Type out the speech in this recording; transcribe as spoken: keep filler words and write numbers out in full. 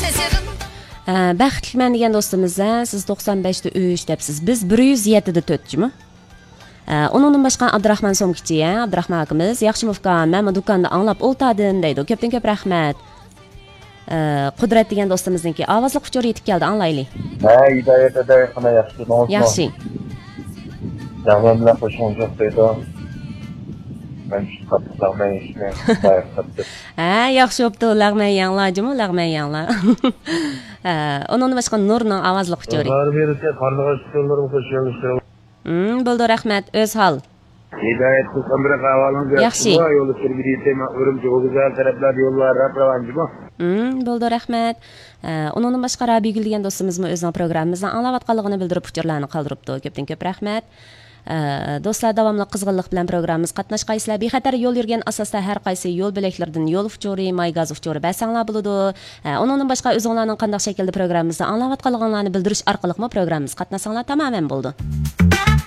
ئە، بەختلىكمەن دېگەن دوستىمىز، ھە، سىز توقسان بەشتە ئۈچ دەپسىز، بىز بىر يۈز يەتتىدە تۆت جۇمۇ. ئە، ئۇنىڭدىن باشقا ئابدۇراخمان سومكىچى، ھە، ئابدۇراخمان ئاكىمىز، ياخشىمۇ ئۇكام، مەنمۇ دۇكاندا ئاڭلاپ ئولتاردىم دەيدۇ. كۆپتىن كۆپ رەھمەت. ئە، قۇدرەت دېگەن دوستىمىزنىڭكى ئاۋازلىق ئۇچۇرى يېتىپ كەلدى، ئاڭلايلى. ھە، ھىدايەت ھىدايەت، قانداق، ياخشى، نومۇسمۇ؟ ياخشى. لەغمەن بىلەن قوشۇڭ جوق دەيدۇ. مەن شۇ قاتتىق لەغمەن يېيىشنى بايىقى قاتتىق. ھە، ياخشى بوپتۇ، لەغمەن يەڭلار جۇمۇ، لەغمەن يەڭلار. ھە، ئۇنىڭدىن باشقا نۇرنىڭ ئاۋازلىق ئۇچۇرى. بار بېرىسە قارلىغاچ ئۇچۇرلىرىمۇ قوشۇۋېلىشتۇرۇڭ. ھىم، بولدى، رەھمەت، ئۆز ھال. ھىدايەت قىلسام بىر ئەھۋالىڭىز ياخشى. ياخشى. يولدا سۈرگۈدە يېتەي، مەن ئۈرۈمچى، غوزى ھەر تەرەپلەردە يوللار راپ راۋان جۇمۇ. ھىم، بولدى، رەھمەت. ئە، ئۇنىڭدىن باشقا رابىيگۈل دېگەن دوستىمىزمۇ ئۆزىنىڭ پروگراممىمىزنى ئاڭلاۋاتقانلىقىنى بىلدۈرۈپ ئۇچۇرلارنى قالدۇرۇپتۇ. كۆپتىن كۆپ رەھمەت. ئە، دوستلار، داۋاملىق قىزغىنلىق بىلەن پروگراممىمىزغا قاتناشقايسىلەر. بىخەتەر يول يۈرگەن ئاساستا ھەر قايسى يول بۆلەكلىرىدىن يول ئۇچۇرى، ماي گاز ئۇچۇرى بەرسەڭلار بولىدۇ. ئە، ئۇنىڭدىن باشقا ئۆزۈڭلارنىڭ قانداق شەكىلدە پروگراممىمىزنى ئاڭلاۋاتقانلىقىڭلارنى بىلدۈرۈش ئارقىلىقمۇ پروگراممىمىزغا قاتناشساڭلار تامامەن بولىدۇ.